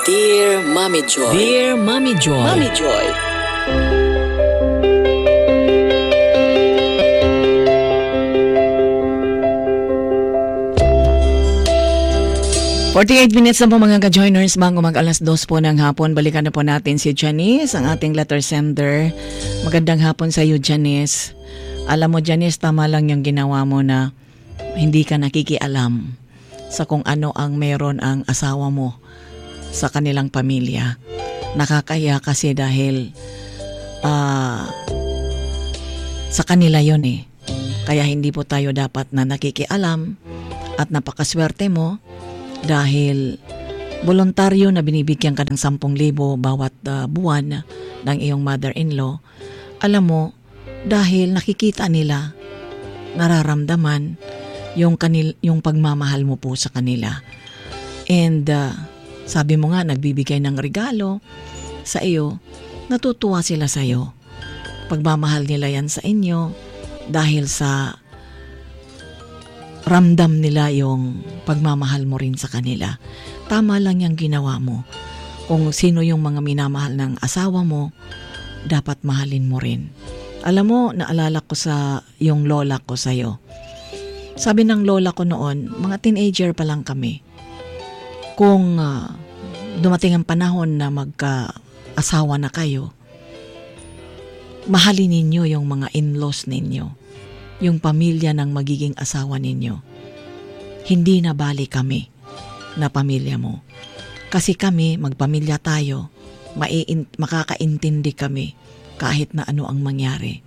Dear Mommy Joy. Dear Mommy Joy. Mommy Joy. 48 minutes na po, mga ka-joiners, bago mag 2:00 po ng hapon. Balikan na po natin si Janice, ang ating letter sender. Magandang hapon sa iyo, Janice. Alam mo, Janice, tama lang yung ginawa mo na hindi ka nakikialam sa kung ano ang meron ang asawa mo sa kanilang pamilya. Nakakahiya kasi dahil sa kanila yon eh. Kaya hindi po tayo dapat na nakikialam at napakaswerte mo dahil voluntaryo na binibigyan ka ng 10,000 bawat buwan ng iyong mother-in-law. Alam mo, dahil nakikita nila, nararamdaman yung pagmamahal mo po sa kanila. And sabi mo nga, nagbibigay ng regalo sa iyo, natutuwa sila sa iyo. Pagmamahal nila yan sa inyo dahil sa ramdam nila yung pagmamahal mo rin sa kanila. Tama lang yung ginawa mo. Kung sino yung mga minamahal ng asawa mo, dapat mahalin mo rin. Alam mo, naalala ko sa yung lola ko sa'yo. Sabi ng lola ko noon, mga teenager pa lang kami, kung dumating ang panahon na magka-asawa na kayo, mahalin ninyo yung mga in-laws ninyo, yung pamilya ng magiging asawa ninyo. Hindi na bali kami na pamilya mo. Kasi kami, magpamilya tayo, makakaintindi kami kahit na ano ang mangyari.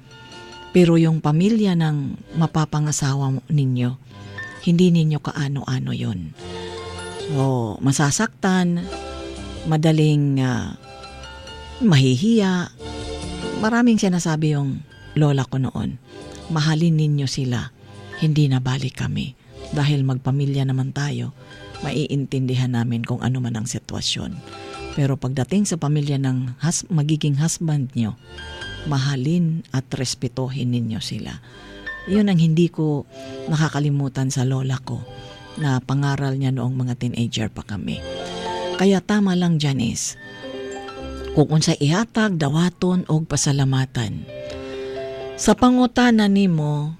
Pero yung pamilya ng mapapangasawa ninyo, hindi ninyo kaano-ano yon. So, masasaktan, madaling mahihiya. Maraming sinasabi yung lola ko noon. Mahalin ninyo sila, hindi na bali kami. Dahil magpamilya naman tayo, maiintindihan namin kung ano man ang sitwasyon. Pero pagdating sa pamilya ng magiging husband nyo, mahalin at respetuhin ninyo sila. Yun ang hindi ko nakakalimutan sa lola ko na pangaral niya noong mga teenager pa kami. Kaya tama lang, Janice. Kung unsay ihatag, dawaton og pasalamatan. Sa pangutana nimo,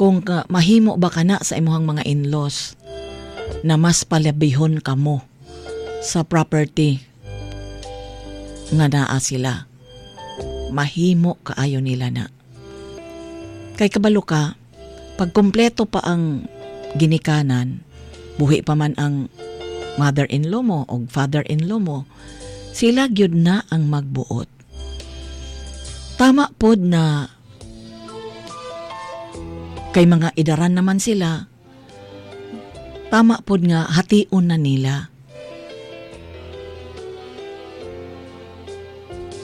kung mahimo ba kana sa imuhang mga in-laws na mas palabihon kamo sa property nga naa sila. Mahimo kaayo nila na. Kay kabalo ka, pag kumpleto pa ang ginikanan, buhi pa man ang mother-in-law mo o father-in-law mo, sila gyud na ang magbuot. Tama pod na kay mga idaran naman sila, tama pod nga hation na nila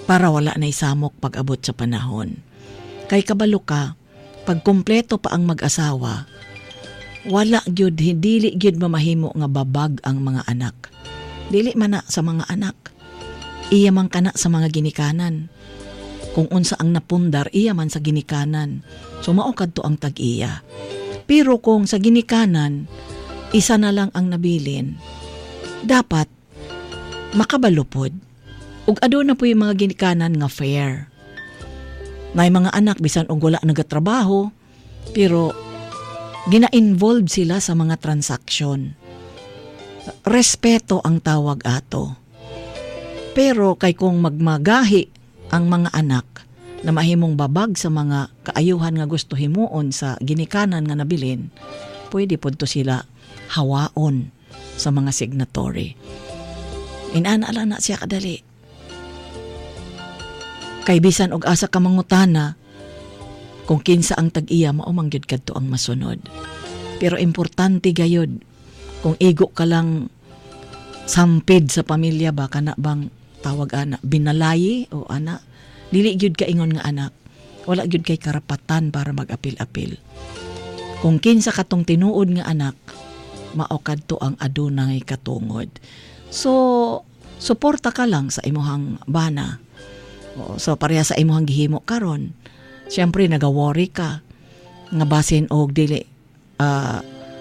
para wala na isamok pag-abot sa panahon. Kay kabalo ka, pag kumpleto pa ang mag-asawa, wala gyud, dili gyud mamahimo nga babag ang mga anak. Dili man na sa mga anak. Iya man kana sa mga ginikanan. Kung unsa ang napundar, iya man sa ginikanan. So mao kadto ang tag-iya. Pero kung sa ginikanan, isa na lang ang nabilin, dapat makabalo pod. Ug aduna po yung mga ginikanan nga fair. Nay mga anak bisan og wala nagatrabaho, pero gina-involve sila sa mga transaksyon. Respeto ang tawag ato. Pero kay kung magmagahi ang mga anak na mahimong babag sa mga kaayuhan nga gusto himuon sa ginikanan nga nabilin, pwede pod to sila hawaon sa mga signatory. Inana lang na siya kadali. Kay bisan og asa ka mangutana, kung kinsa ang tag-iya, mao man gyud kadto ang masunod. Pero importante gayud, kung igo ka lang sampid sa pamilya ba, kana bang tawag ana, binalayi o ana, dili gyud ka ingon nga anak, wala gyud kay karapatan para mag-apil-apil. Kung kinsa katong tinuod nga anak, mao kadto ang adunay katungod. So, suporta ka lang sa imuhang bana. So, pareha sa imuhang gihimo karon. Siyempre, naga-worry ka nga basin og dili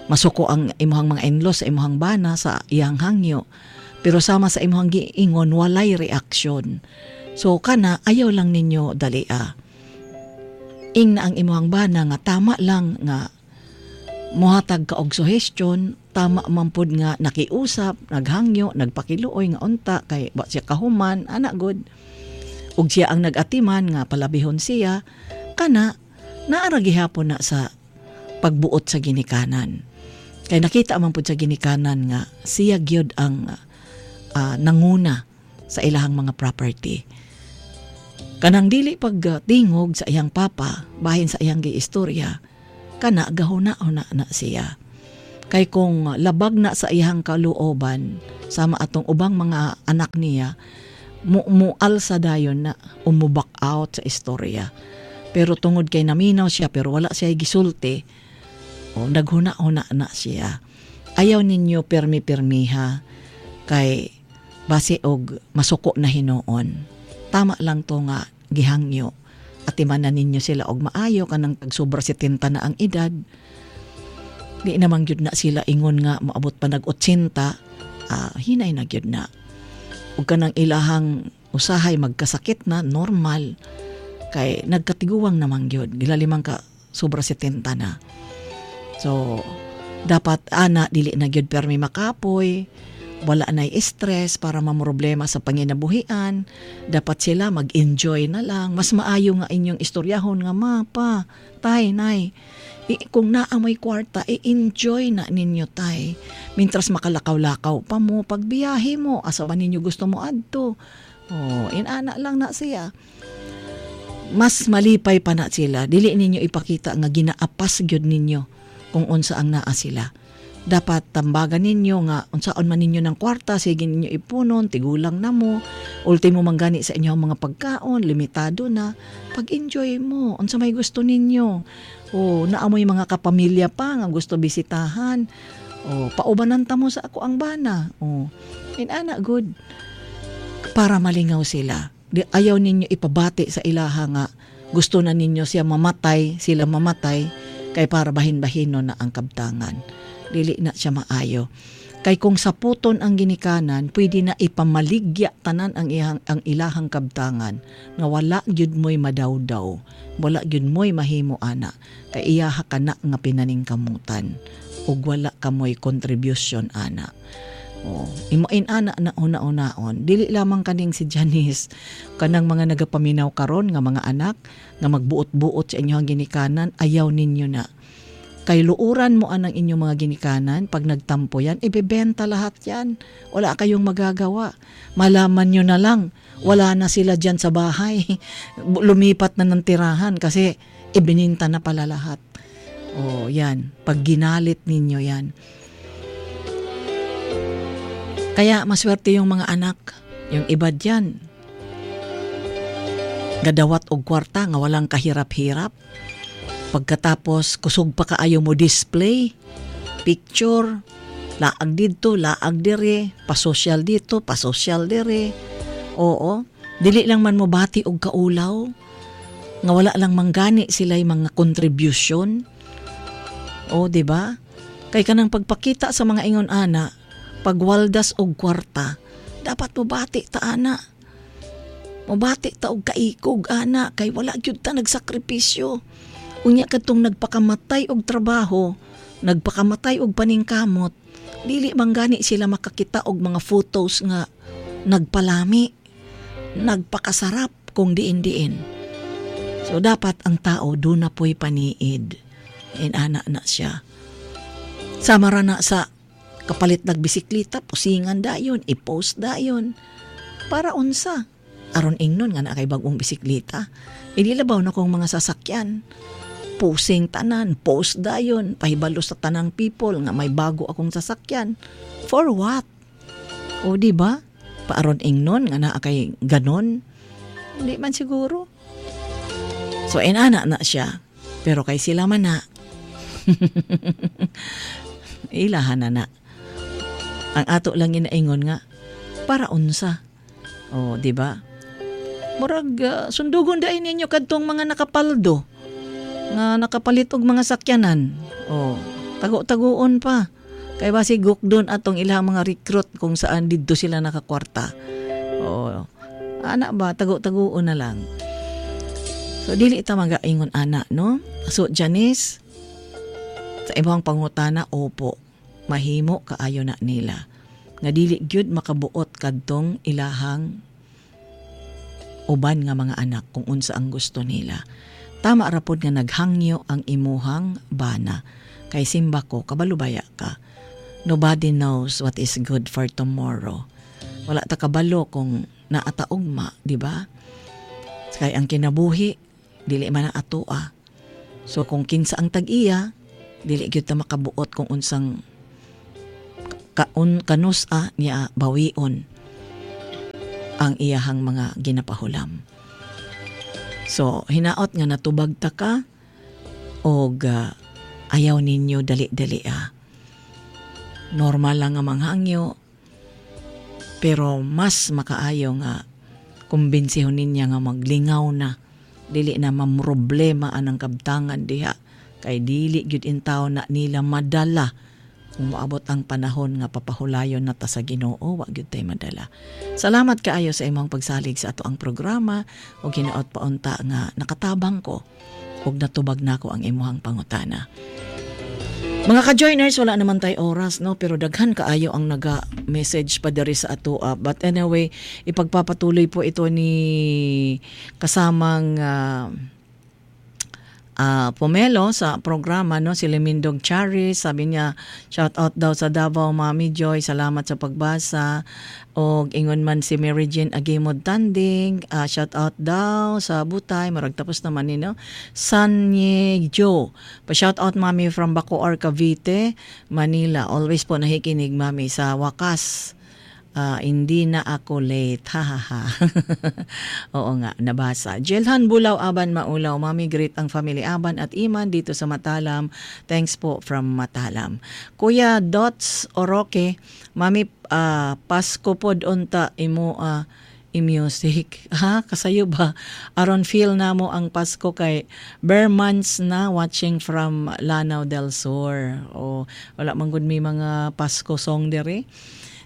masuko ang imuhang mga in-laws sa imuhang bana sa iyang hangyo. Pero sama sa imong giingon, walay reaksyon. So kana, ayaw lang ninyo dalia. Ing na ang imong bana nga tama lang nga mohatag ka og suhestyon, tama man pud nga nakiusap, naghangyo, nagpakiluoy nga unta kay wa siya kahuman, ana gud. Ug siya ang nag-atiman nga palabihon siya, kana naara gihapon na sa pagbuot sa ginikanan. Kay nakita man pud sa ginikanan nga siya gyud ang nanguna sa ilahang mga property. Kanang dili pagtingog sa iyang papa, bahin sa iyang giistorya, kana gahuna-huna na siya. Kay kung labag na sa iyang kaluoban sama atong ubang mga anak niya, mualsa dayon na, umuback out sa istorya. Pero tungod kay naminaw siya pero wala siya gisulti, o naghuna-huna na siya. Ayaw ninyo permi-permiha kay base og masuko na hinuon. Tama lang to nga gihangyo. Atiman na ninyo sila og maayo kanang tagsobra 70 na ang edad. Di namang gyud na sila ingon nga moabot pa nag 80, hinay na gyud na. Ug kanang ilahang usahay magkasakit na normal kay nagkatiguang namang gyud, gilalimang ka sobra 70 na. So dapat ana dili na gyud permi makapoy, wala na stress para mamroblema sa panginabuhian. Dapat sila mag-enjoy na lang. Mas maayo nga inyong istoryahon nga ma, pa, tay, nay. Kung naa mo'y kwarta, i-enjoy na ninyo, tay. Mintras makalakaw-lakaw pa mo, pagbiyahe mo, asa ba ninyo gusto mo adto? Oh, inana lang na siya. Mas malipay pa na sila. Dili ninyo ipakita nga ginaapas gyud ninyo kung unsa ang naa sila. Dapat tambagan ninyo nga unsaon man ninyo ng kwarta, sige ninyo ipunon, tigulang na mo, ultimo man gani sa inyong mga pagkaon, limitado na. Pag-enjoy mo, unsa may gusto ninyo. O naamoy mga kapamilya pa nga gusto bisitahan. O paubanan ta mo sa ako ang bana. O inana good. Para malingaw sila. Di, ayaw ninyo ipabati sa ilaha nga gusto na ninyo siya mamatay, sila mamatay, kay para bahin-bahino na ang kabtangan. Dili na siya maayo. Kay kung saputon ang ginikanan, pwede na ipamaligya tanan ang ang ilahang kabtangan nga wala gyud mo'y madawdaw, wala gyud mo'y mahimo ana, kay iyaha ka na nga pinaningkamutan ug wala ka mo'y contribution ana. Oh, imo inana na una-unaon. Dili lamang kaning si Janice, kanang mga nagapaminaw karon nga mga anak nga magbuot-buot sa inyong ginikanan, ayaw ninyo na. Kay luuran mo anang inyong mga ginikanan, pag nagtampo yan, ibebenta lahat yan. Wala kayong magagawa. Malaman nyo na lang, wala na sila dyan sa bahay. Lumipat na ng tirahan kasi ibininta na pala lahat. O yan, pag ginalit ninyo yan. Kaya maswerte yung mga anak, yung iba dyan, gadawat og kwarta nga walang kahirap-hirap. Pagkatapos, kusog pa kaayo mo display, picture, laag dito, laag dire, pa-social dito, pa-social dire. Oo, dili lang man mo bati og kaulaw, nga wala lang manggani sila'y mga contribution. O, di ba? Kay kanang pagpakita sa mga ingon ana, pagwaldas og kwarta, dapat mo bati ta ana. Mobati ta og kaikog ana, kay wala gyud ta nagsakripisyo. Unya kadtong nagpakamatay og trabaho, nagpakamatay og paningkamot, dili man gani sila makakita og mga photos nga nagpalami, nagpakasarap kung diin-diin. So dapat ang tao doon na po'y paniid. Inana na siya. Sama ra na sa kapalit nagbisikleta, pusingan dayon, i-post dayon. Para unsa? Aron ingnon nga na kay bagong bisikleta. Inilabaw na kong mga sasakyan. Posing tanan, post dayon, pahibalo sa tanang people nga may bago akong sasakyan. For what? O di ba? Paaron ingnon nga naa kay ganon. Hindi man siguro. So inana na siya. Pero kay sila man na. Ilahan na na. Ang ato lang ginaingon nga para unsa. O di ba? Murag sundugon dai ninyo kadtong mga nakapaldo nga nakapalit og mga sakyanan. O tago-tagoon pa. Kay basi gukdon atong ilang mga recruit kung saan didto sila nakakwarta. Oo. Ana ba, tago-taguon na lang. So dili ta magaingon ana, no? So Janice, sa imong pangutana, opo, mahimo kaayo na nila. Nga dili gyud makabuot kadtong ilahang uban nga mga anak kung unsa ang gusto nila. Tama ra pod nga naghangyo ang imuhang bana. Kay simba ko, kabalo baya ka. Nobody knows what is good for tomorrow. Wala ta kabalo kung naa ta ugma, di ba? Kay ang kinabuhi, dili man na atoa. So kung kinsa ang tag-iya, dili gyud ta makabuot kung unsang kaun kanus-a niya bawion ang iyahang mga ginapahulam. So, hinaot nga natubag ta ka og ayaw ninyo dali-dali ah. Normal lang nga manghangyo, pero mas makaayo nga kumbinsihon ninya nga maglingaw na, dili na mamroblema anang kabtangan diha kay dili gyud intaw na nila madala kung moabot ang panahon nga papahulayon na ta sa Ginoo, wa gyud tay madala. Salamat kaayo sa imong pagsalig sa ato ang programa ug hinaot pa unta nga nakatabang ko ug natubag nako ang imong pangutana. Mga ka-joiners, wala naman tay oras, no? Pero daghan kaayo ang naga-message pa diri sa atoa. But anyway, ipagpapatuloy po ito ni kasamang Pomelo sa programa, no? Si Lemindog Charis, sabi niya, shout out daw sa Davao, Mami Joy, salamat sa pagbasa. Og ingon man si Mary Jane Agimod Tanding, shout out daw sa Butay, marag tapos naman ni, no? Sanye Joe, pa shout out, Mami, from Bacoor, Cavite, Manila. Always po nakikinig, Mami, sa wakas. Hindi na ako late. Ha ha ha. Oo nga, nabasa. Jelhan Bulaw Aban Maulaw. Mami, greet ang family Aban at Iman dito sa Matalam. Thanks po from Matalam. Kuya Dots Oroke, Mami, Pasko pod unta imo i-music. Ha? Kasayo ba? Aron feel na mo ang Pasko kay bare months na watching from Lanao del Sur. O, wala man gud may mga Pasko song diri.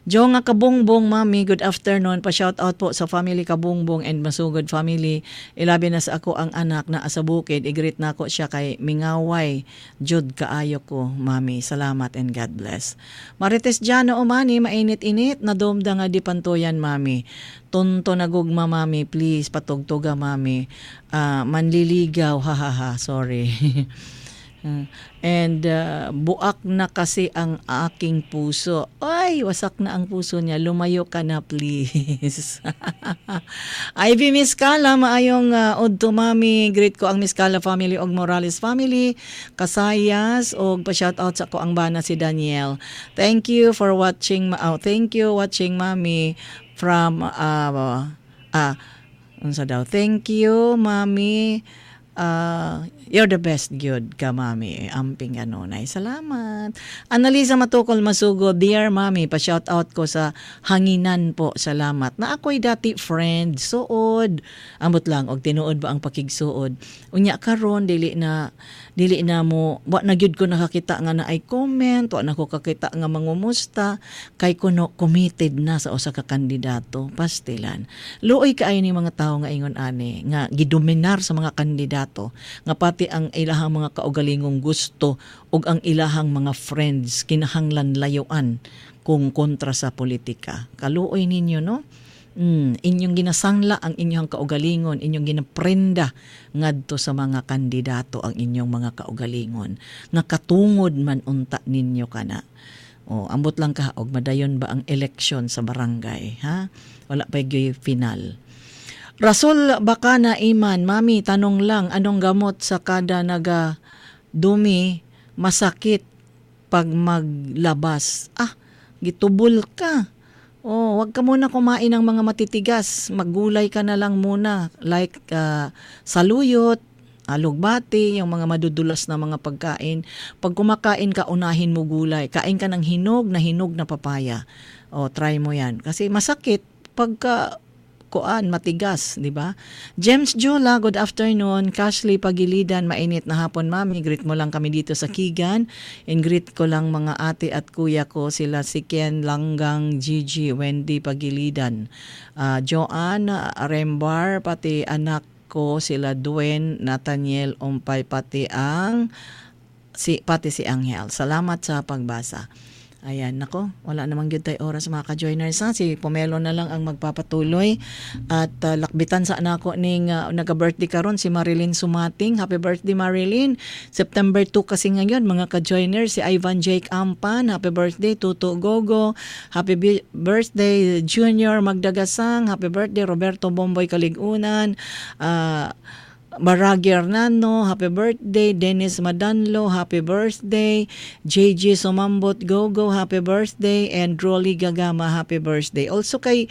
Jo nga Kabungbong, Mami, good afternoon. Pa-shout out po sa family Kabungbong and Masugod family. Ilabi na sa ako ang anak na sa bukid. I-greet na ko siya kay mingaway. Jud kaayo ko, Mami. Salamat and God bless. Marites Jano Umani, mainit-init. Nadumda nga di pantuyan, Mami. Tonto na gugma, Mami. Please, patugtuga, Mami. Manliligaw, ha ha ha. Sorry. And buak na kasi ang aking puso. Ay, wasak na ang puso niya. Lumayo ka na, please. Ivy Miskala, maayong udto, Mami. Greet ko ang Miskala family og Morales family. Kasayas og pa-shout out sa ko ang bana si Daniel. Thank you for watching. Oh, thank you watching, Mami, from unsa daw? Thank you, Mami. You're the best gyud ka, Mami. Amping kanunay. Salamat. Annalisa Matukol Masugo, dear Mami, pa-shout out ko sa Hanginan po. Salamat. Na ako'y dati friend, suod. Ambot lang, og tinuod ba ang pakigsuod. Unya karon dili na mo, wa na gyud ko nakakita nga na ay comment, wa na ko kakita nga mangumusta kay kuno committed na sa usa ka kandidato. Pastilan. Luoy kaayo ni mga tawo nga ingon ani nga gidominar sa mga kandidato nga pati ang ilahang mga kaugalingong gusto ug ang ilahang mga friends kinahanglan layuan kung kontra sa politika. Kaluoy ninyo, no? Inyong ginasangla ang inyong kaugalingon, inyong ginaprenda ngadto sa mga kandidato ang inyong mga kaugalingon nga katungod man unta ninyo kana. O, ambot lang ka og madayon ba ang eleksyon sa barangay, ha? Wala pa gyud final. Rasol Bakana Iman, Mami, tanong lang, anong gamot sa kada naga dumi masakit pag maglabas? Ah, gitubol ka. Oh, wag ka muna kumain ng mga matitigas. Maggulay ka na lang muna. Like saluyot, alugbati, yung mga madudulas na mga pagkain. Pag kumakain ka, unahin mo gulay. Kain ka ng hinog na papaya. Oh, try mo yan. Kasi masakit pagka kuan matigas, di ba? James Jula, good afternoon. Cashley Pagilidan, mainit na hapon, Mami. Greet mo lang kami dito sa Kigan. And greet ko lang mga ate at kuya ko, sila si Ken Langgang, Gigi, Wendy Pagilidan. Joanne Rembar, pati anak ko sila Dwayne, Nathaniel Umpay, pati si Angel. Salamat sa pagbasa. Ayan, nako, wala namang gyud tay oras, mga ka-joiners, ha. Si Pomelo na lang ang magpapatuloy at lakbitan sa nako ning naga-birthday karon, si Marilyn Sumating. Happy birthday, Marilyn. September 2 kasi ngayon, mga ka-joiners. Si Ivan Jake Ampan, happy birthday. Tuto Gogo, happy birthday. Junior Magdagasang, happy birthday. Roberto Bomboy Kaligunan, Baragi Hernando, happy birthday. Dennis Madanlo, happy birthday. JJ Sumambot Gogo, happy birthday. And Rolly Gagama, happy birthday. Also kay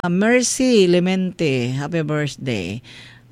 Mercy Lemente, happy birthday.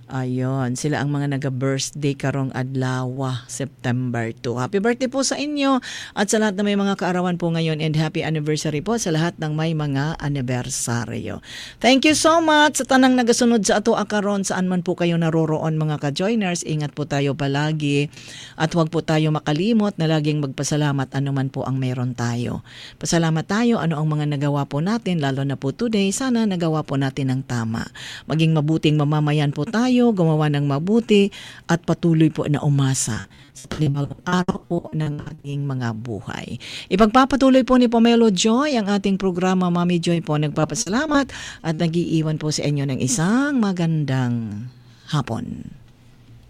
Ayon, sila ang mga naga-birthday karong adlaw, September 2. Happy birthday po sa inyo at sa lahat na may mga kaarawan po ngayon and happy anniversary po sa lahat ng may mga anibersaryo. Thank you so much sa tanang nagasunod sa ato karon, saan man po kayo naroroon, mga ka-joiners. Ingat po tayo palagi at huwag po tayo makalimot na laging magpasalamat ano man po ang meron tayo. Pasalamat tayo ano ang mga nagawa po natin, lalo na po today. Sana nagawa po natin ng tama. Maging mabuting mamamayan po tayo, gumawa ng mabuti at patuloy po na umasa sa panibagong araw po ng ating mga buhay. Ipagpapatuloy po ni Pomelo Joy ang ating programa. Mami Joy po nagpapasalamat at nagiiwan po sa inyo ng isang magandang hapon.